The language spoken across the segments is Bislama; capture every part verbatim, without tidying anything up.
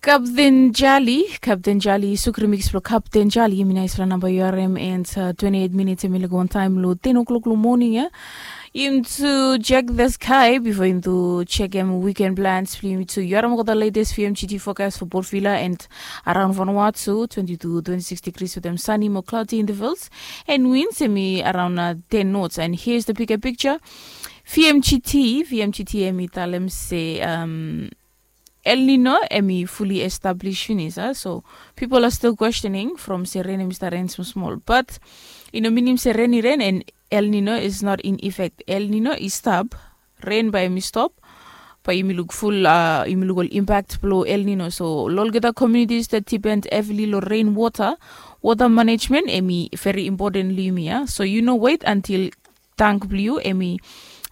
Kapten Jali, Kapten Jali, suk remix blong Kapten Jali, yumi naisfala namba yu harim, and uh, twenty-eight minutes em i laik wantaim long ten o'clock long morning ya. Yumi tu check the sky before yumi tu check em weekend plans blong yumi tu. Yu harim olgeta latest V M G T forecast for Port Vila and around Vanuatu, twenty to twenty-six degrees with them sunny mo cloudy intervals and winds em i around uh, ten knots. And here's the bigger picture. V M G T, V M G T em i talem se um, El Nino em i fully established finis, ah? So people are still questioning from se rain em i start rain small small, but i no minim se rain i rain and El Nino is not in effect. El Nino i stop, rain bae em i stop, bae yumi luk ful, uh, yumi luk ol impact blong El Nino. So long olgeta communities that depend heavily long rain water, water management em i very important long yumi, ah? So you no wait until tank blong yu em i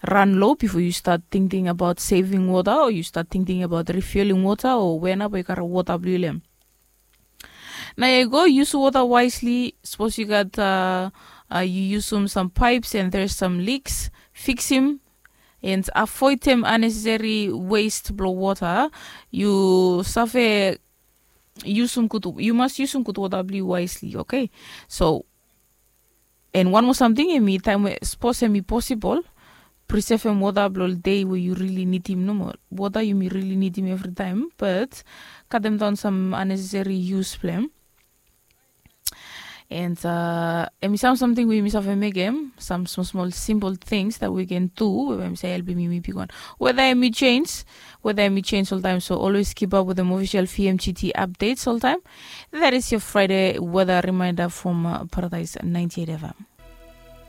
ran low before you start thinking about saving water or you start thinking about refueling water or wena bae yu karem water blong yu long em. Nao yu go use water wisely. Suppose you got uh, uh, you use some, some pipes and there's some leaks, fix him and avoid them unnecessary waste blong water. You save use some good, you must use some good water blong you wisely, okay? So and one more something, em i taim we suppose em i possible, preserve em water blong day we you really need him no more. Water you may really need him every time, but cut them down some unnecessary use blong em. And uh, em i sam something we yumi save mekem, some small small simple things that we can do we em i save helpim yumi bigwan. Whether em i change, whether em i change all time, so always keep up with the official V M G T updates all time. That is your Friday weather reminder from uh, Paradise ninety-eight F M.